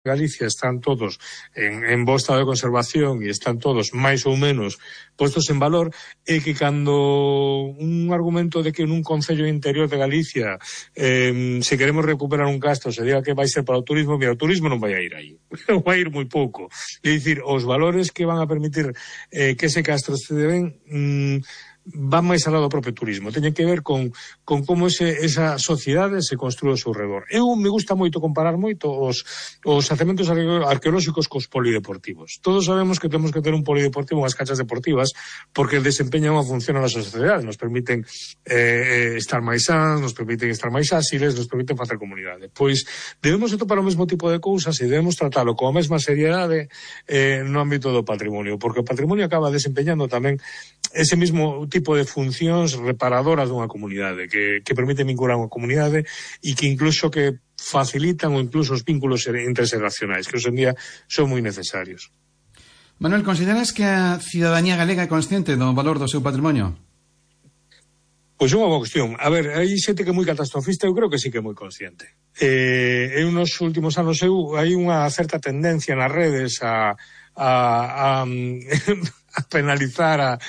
Galicia están todos en bo estado de conservación e están todos máis ou menos postos en valor, é que cando un argumento de que nun concello interior de Galicia se queremos recuperar un castro se diga que vai ser para o turismo, mira, o turismo non vai a ir aí, vai a ir moi pouco. É dicir, os valores que van a permitir que ese castro se deben van máis alá do propio turismo, teñen que ver con como esa sociedade se construe ao seu redor. Me gusta moito comparar moito os xacementos arqueolóxicos cos polideportivos. Todos sabemos que temos que ter un polideportivo, unhas canchas deportivas, porque desempeñan unha función na nosa sociedade, nos permiten estar máis sans, nos permiten estar máis áxiles, nos permiten facer comunidade. Pois debemos atopar o mesmo tipo de cousas e debemos tratalo con a mesma seriedade no ámbito do patrimonio, porque o patrimonio acaba desempeñando tamén ese mesmo tipo de funcións reparadoras dunha comunidade, que permiten vincular unha comunidade e que incluso que facilitan ou incluso os vínculos interxeracionais, que hoxe en día son moi necesarios. Manuel, consideras que a cidadanía galega é consciente do valor do seu patrimonio? Pois é unha boa cuestión. A ver, hai xente que é moi catastrofista, eu creo que sí que é moi consciente. Nos últimos anos hai unha certa tendencia nas redes a penalizar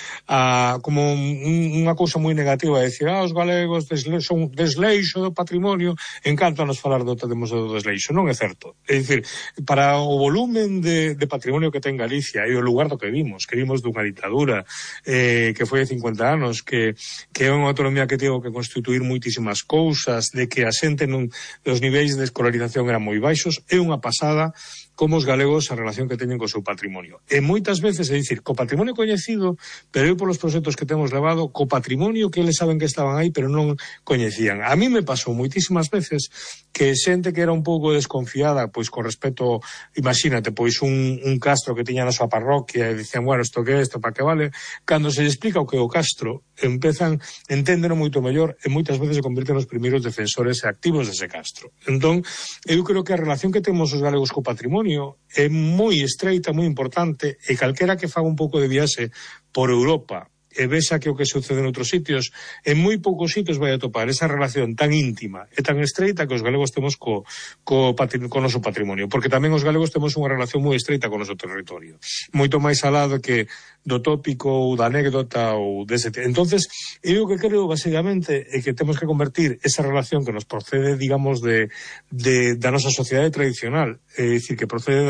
como unha cousa moi negativa, a decir, os galegos son desleixo do patrimonio, encántanos falar do desleixo. Non é certo. É dicir, para o volumen de patrimonio que ten Galicia e o lugar do que vimos dunha ditadura que foi de 50 anos, que é unha autonomía que tivo que constituir moitísimas cousas, de que a xente os niveis de escolarización eran moi baixos, é unha pasada como os galegos a relación que teñen co seu patrimonio. E moitas veces, é dicir, co patrimonio coñecido, pero eu polos proxectos que temos levado, co patrimonio que eles saben que estaban aí, pero non coñecían. A mí me pasou moitísimas veces que xente que era un pouco desconfiada, pois con respecto, imagínate, pois un castro que tiña na súa parroquia e dicían, bueno, isto que é, isto para que vale, cando se explica o que é o castro, enténdeno moito mellor e moitas veces se convirten nos primeiros defensores e activos dese castro. Entón, eu creo que a relación que temos os galegos co patrimonio é moi estreita, moi importante, e calquera que faga un pouco de viaxe por Europa e vexa que o que sucede en outros sitios, en moi poucos sitios vai a topar esa relación tan íntima e tan estreita que os galegos temos co noso patrimonio, porque tamén os galegos temos unha relación moi estreita co noso territorio, moito máis alá do tópico ou da anécdota ou dese. Entonces, eu que creo basicamente é que temos que convertir esa relación que nos procede, digamos, da nosa sociedade tradicional, é dicir, que procede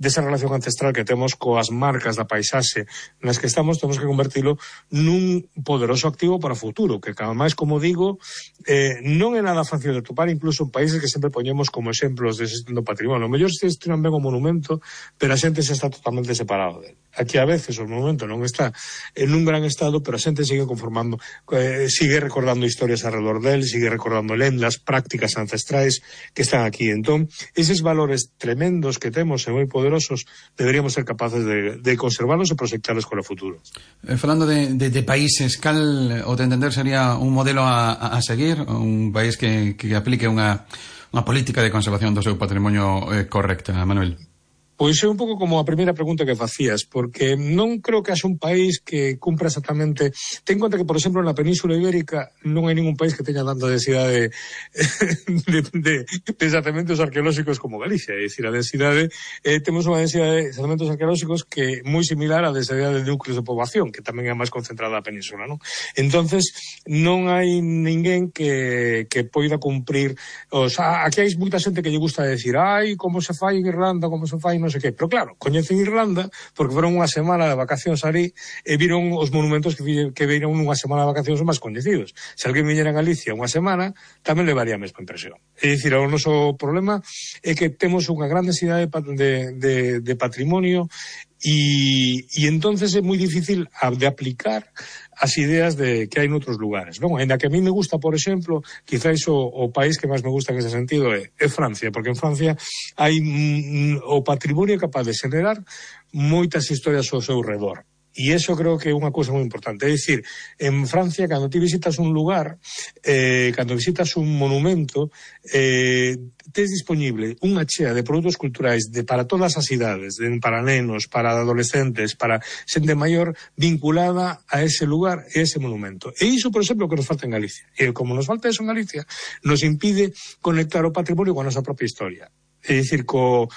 desa relación ancestral que temos coas marcas da paisaxe nas que estamos, temos que convertilo nun poderoso activo para o futuro, que cada máis, como digo, non é nada fácil de topar, incluso en países que sempre poñemos como exemplos de xestión do patrimonio. O mellor se gestionan ben o monumento, pero a xente se está totalmente separado dele. Aquí a veces o monumento non está en un gran estado, pero a xente sigue conformando, sigue recordando historias alrededor del, sigue recordando lendas, prácticas ancestrais que están aquí. Entón, eses valores tremendos que temos e moi poderosos, deberíamos ser capaces de conservarlos e proxectarlos con o futuro. Falando de países, cal, o de entender, sería un modelo a seguir, un país que aplique unha política de conservación do seu patrimonio correcta, Manuel? Pois é un pouco como a primeira pregunta que facías, porque non creo que haxa un país que cumpra exactamente. Ten en conta que, por exemplo, na Península Ibérica non hai ningún país que teña tanta densidade de xacementos arqueolóxicos como Galicia. É dicir, a densidade, temos unha densidade de xacementos arqueolóxicos que é moi similar á densidade de núcleos de poboación, que tamén é máis concentrada na península, non? Entonces, non hai ninguén que poida cumprir. Aquí hai moita xente que lle gusta decir, como se fai en Irlanda, como se fai non sei que, pero claro, coñecen Irlanda porque foron unha semana de vacacións ali e viron os monumentos que viron unha semana de vacacións máis coñecidos. Se alguén viñera a Galicia unha semana, tamén levaría a mesma impresión. É dicir, o noso problema é que temos unha gran densidade de patrimonio e entonces é moi difícil de aplicar as ideas que hai noutros lugares, non? Ainda que a mí me gusta, por exemplo, quizáis o país que máis me gusta en ese sentido é Francia, porque en Francia hai o patrimonio capaz de xenerar moitas historias ao seu redor. E iso creo que é unha cousa moi importante. É dicir, en Francia, cando ti visitas un lugar, cando visitas un monumento, tes disponible unha chea de produtos culturais para todas as idades, para nenos, para adolescentes, para xente maior, vinculada a ese lugar e a ese monumento. E iso, por exemplo, que nos falta en Galicia. E como nos falta eso en Galicia, nos impide conectar o patrimonio con a nosa propia historia. é dicir, co